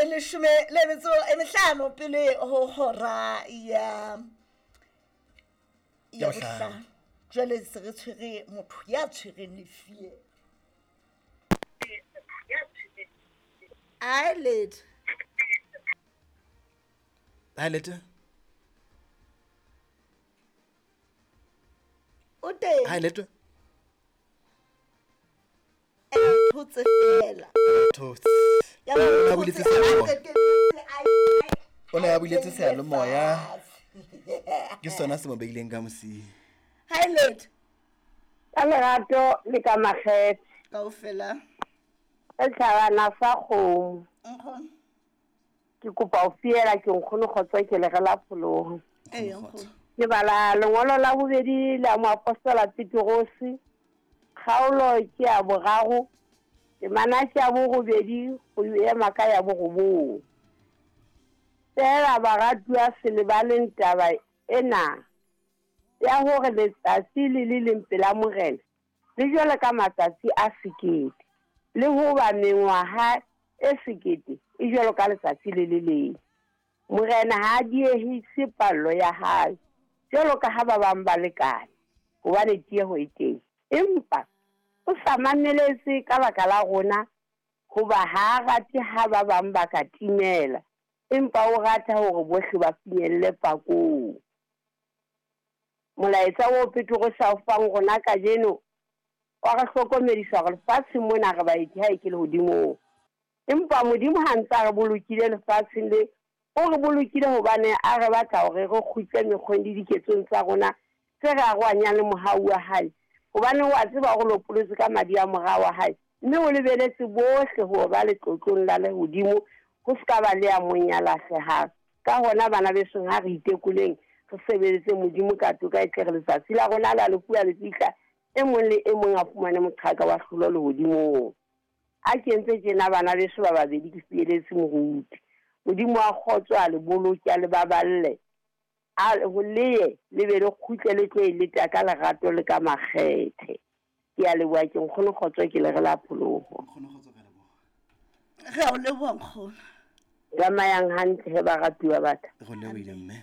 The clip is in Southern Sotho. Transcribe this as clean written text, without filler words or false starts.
Leshome le metso e mehlano pele ho hora ya Ya bohlano. Bohlano. Jwale se re tshwere motho ya tshwereng lefie. Ai letho. Hi Lete. O teng. Hi Lete. Thotse fela. Thotse. Ya ba O ne a o buletse thotse, seyalemoya. a qetelletse O ne a buletse seyalemoya. fatshe. Ke sona se mo beileng ka mosing. Hi Lete. Ka lerato le ka makgethe. Kaofela. Re tlhabana fa kgomo. Nkgono. Ke kopa ho fiela ke nkgono kgotso ke le re la pholoho. Ee, nkgono. Ke bala lengolo la bobedi la moapostola Petrose. Kgaolo ke ya boraro. Temana ke ya borobedi ho ema ka ya borobong. Feela baratuwa se lebaleng taba ena ya hore letsatsi le le leng pela Morena le jwalo ka matsatsi a sekete, le hoba mengwaha e sekete e jwalo ka letsatsi le le leng. Morena ha a diehise pallo ya hae jwalo ka ha ba bang ba lekane, hobane tieho e teng. Empa o sa mameletse ka baka la rona, hoba ha a rate ha ba bang ba ka timela, empa o rata hore bohle ba finyelle pakong. Molaetsa oo Petrose a o fang rona kajeno wa re hlokomedisa hore lefatsheng mona re baeti ha e ke lehodimong. Empa Modimo ha ntse a re bolokile lefatsheng le, o re bolokile hobane a re batla hore re kgutle mekgweng le diketsong tsa rona tse re arohanyang le mohau wa hae. Hobane wa tseba hore lopolotse ka madi a mora wa hae, mme o lebeletse bohle hore ba letlotlong la lehodimo, ho se ka ba le ya mong ya lahlehang. Ka hona bana besong, ha re itekoleng, re sebeletse Modimo ka toka, e tle re letsatsi la rona la lefu ha le fihla, e mong le e mong a fumane moqhaka wa hlolo lehodimong. A ke entse tjena bana beso ba babedi, ke fieletse moruti. Modimo wa kgotso a le boloke, a le baballe, a ho leye le be le kgutle le tlo e leta ka lerato le ka makgethe. Ke a leboha, ke nkgono kgotso, ke le re la pholoho. Nkgono kgotso ka leboha. Re a o leboha nkgono. Tsamayang hantle he baratuwa ba ka. Re lebohile mme.